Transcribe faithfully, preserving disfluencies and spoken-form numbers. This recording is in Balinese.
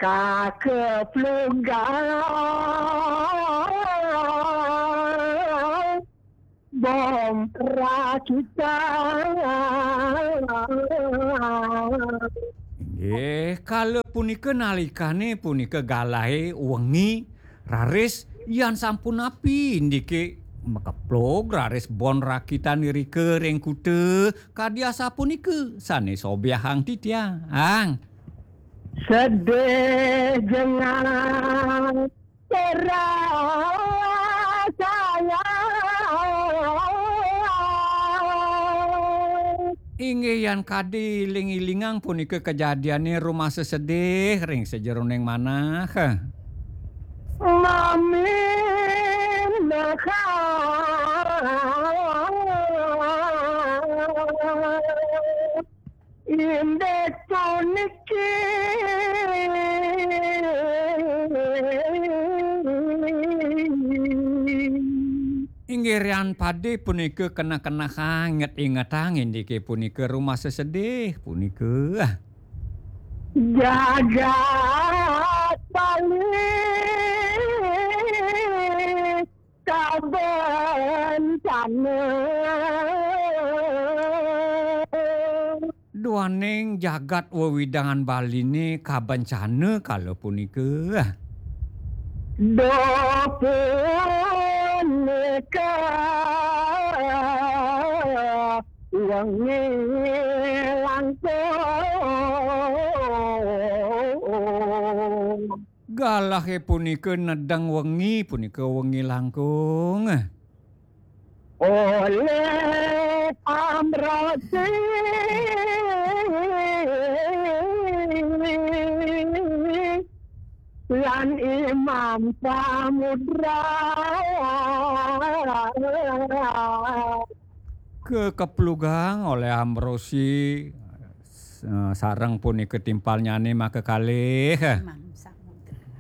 Kakeplugang bom rakitan. Inggih, kala punika nalikane punika galahe wengi, raris yan sampun api indike makeplug raris bon rakitan irika ring kuta, kadi asapunika sane sobyahang titiang. Sedih jengat terasanya. Inggih yan kadi iling-ilingang punika kajadiane rumasa sedih ring sajeroning manah. Mamin lekha indik puniki. Inggih rian pade punika kenah-kenah inget-ingetang indike punika rumasa sedih punika. Jagat Bali kabencana. Duaning jagat wewidangan Baline kabencana kala punika. Duh punika wengi langkung. Galahe punika nedeng wengi, punika wengi langkung. Oleh Amrosi lan Imam Samudra. Kekeplugang oleh Amrosi, eh, sareng punika timpalnyane makakalih. Imam Sam-